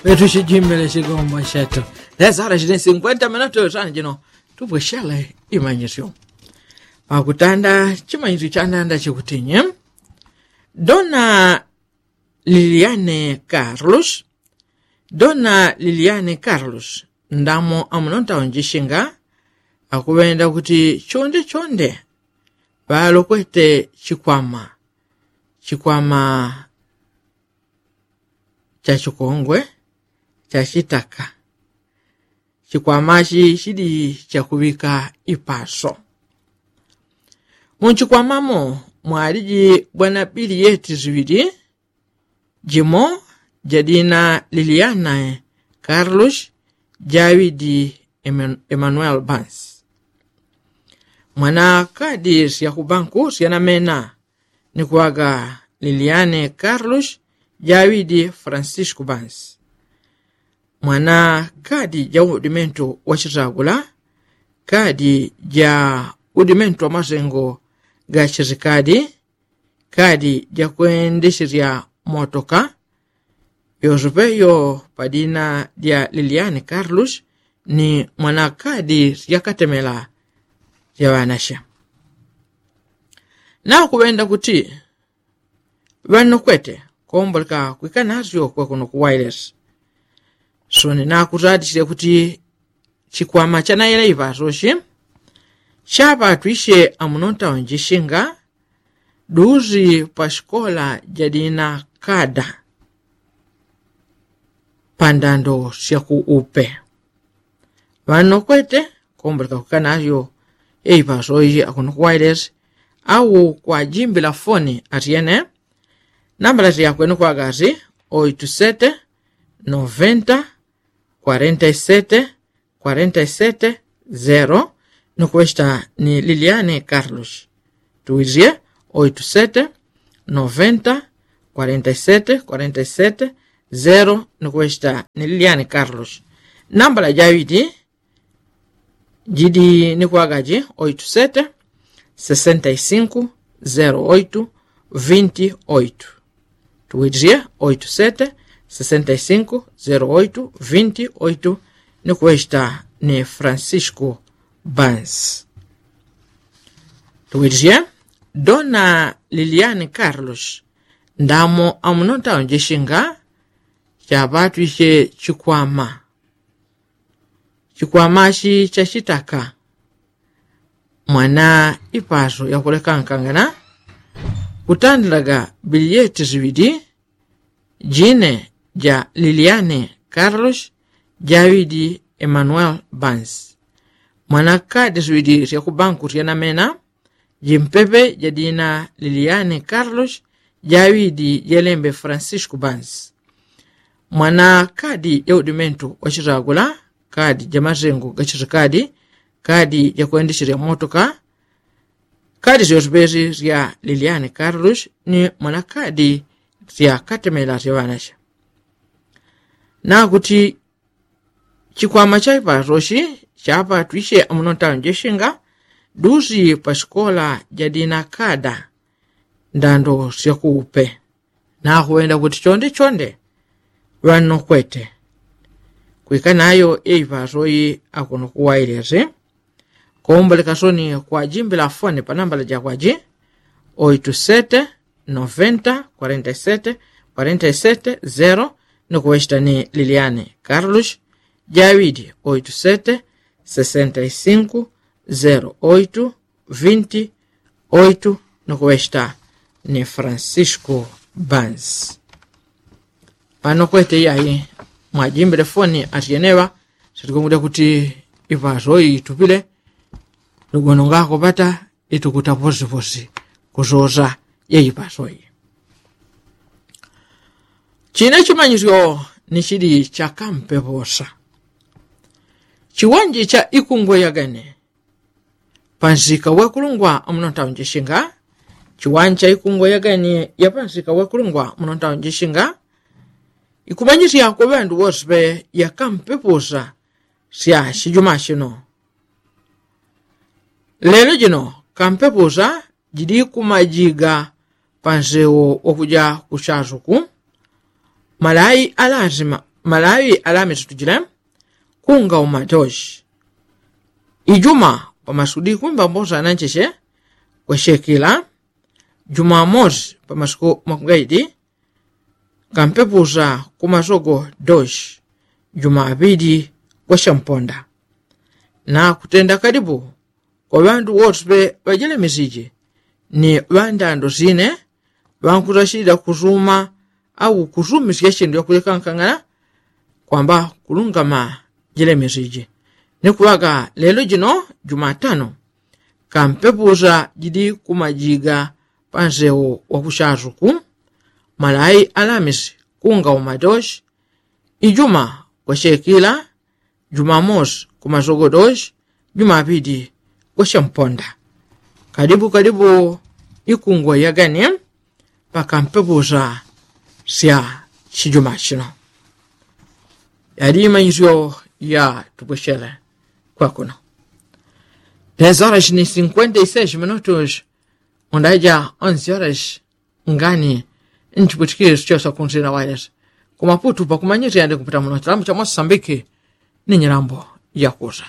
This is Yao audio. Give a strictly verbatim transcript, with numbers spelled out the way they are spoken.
Petu chijimbile chigombo chetu. Lesa ala chili sinkwenta minutu sani jino tupweshele imanyisyo. Pakutanda chimanyisyo chandanda chikutinye, dona liliane carlos, dona liliane carlos, ndamo amuno ntaunjishinga akuŵenda kuti chonde chonde ŵalokwete chikwama, chikwama cha chikongwe cha chitaka. Chikwamachi chidi chakuŵika ipaso. Munchikwamamo mwaliji bwana biliyeti ziŵili, jimo jadina liliana carlos, jawidi emanuel bans. Mwana kadi syakubanku syanamena ni kuŵaga liliane carlos, jawidi francisco bans. Mwana kadi ja udimentu wa chitagula, kadi ja udimentu wa masengo ga chizikadi, kadi ja kwendesherya motoka, yosepe yo padina dya liliane carlos, ni mwana kadi syakatemela sya ŵanasya. Nakuŵenda kuti ŵanokwete komboleka kwika nasyo kwekono ku wailesi. Soni nakuzatisye kuti chikwama chanayela iŵasoshi chapatwisye amuno ntaunjishinga duzi pa shikola jadina kada pandando syaku upe. Ŵanokwete komboleka kwika nasyo iŵasoshi akuno ku wailesi au kwajimbila foni atyene. Nambala syakwene kwagasi oitu sete noventa kwarenta isete kwarenta isete zero, ni kuŵechita ni liliane carlos. Tuwisye oitu sete noventa kwarenta isete kwarenta isete zero, ni kuŵechita ni liliane carlos. Nambala jaŵili jidi ni kwagaji oitu sete sesenta isinku zero oitu vinti oitu. Tuwilisye oitu sete sesenta isinku zero oitu vinti oitu. Ni kuŵechita ni francisco bans. Tuwilisye dona liliane carlos, ndamo amuno ntaunjishinga chapatwisye chikwama. Chikwamachi chachitaka mwana ipaso yakulekankangana kutandilaga biliyeti ziŵili, jine ja liliane carlos, jaŵili emanuel bans. Mwana kadi ziŵili syakubanku syanamena jimpepe jadina liliane carlos, jaŵili jelembe francisco bans. Mwana kadi ja udimentu wa chitagula, kadi ja masengo ga chizikadi, kadi ja kwendesherya motoka, kadi syosepesi sya liliane carlos ni mwana kadi syakatemela sya ŵanasya. Nakuti chikwama cha ipasoshi chapatwisye amuno ntaunjishinga duzi pa shikola jadina kada ndando syaku upe. Nakuŵenda kuti chonde chonde ŵanokwete kwika nayo ipasoyi akuno ku wailesi. Komboleka soni kwajimbila foni pa nambala jakwaji oitu sete noventa kwarenta isete kwarenta isete zero, ni kuŵechita ni liliane carlos, jaŵili oitu sete sesenta isinku zero oitu vinti oitu, ni kuŵechita ni francisco bans. Pano kwete iyayi mwajimbile foni atyeneŵa. Sitikumwida kuti ipasoyi itupile lugono ngakopata itukuta posiposi kusosa yeipasoyi. Chine chimanyisyo ni chili chakampeposa chiwanji cha ikungwe yagane pansika wekulungwa amuno ntaunjishinga. Chiwanji cha ikungwe yagane ya pansika wekulungwa amuno ntaunjishinga ikumanyisya kwe ŵandu wose pe yakampeposa sya chijuma chino. Lelo jino kampeposa jili kumajiga pansewo wakuja kuchasuku. Malayi alasima malawi alamisi tujile kunga umatoshi. Ijuma pamasudi kumbambosa nancheche kweshekila. Jumamosi pamasuku makungaidi kampepusa kumasogo doshi. Jumapili kweshamponda na kutenda kalipu kwa ŵandu wose ŵajelemesije ni ŵandando sine ŵankutachilila kusuma au kusumisya chindu yakulekankang'ana kwamba kulungama jelemesije. Ni kuŵaga lelo jino jumatano kampepusa jili kumajiga pansewo wakuchasuku. Malai alamisi kunga umatoshi. Ijuma kweshekila. Jumamosi kumasogo doshi. Jumapili kweshamponda. Kalipu kalipu ikungwa yagani pakampepusa sya chijuma chino. Yali imanyisyo ya tupwechele kwakuno. Dez horas ni cinkwenta y seis minutos. Undaja onzi horas ngani nchipwitikiri sichosa kunsina wailesi kumaputu pakumanyisya yandi kuputa muno chilambo cha mosambiki. Ni nyilambo yakusa.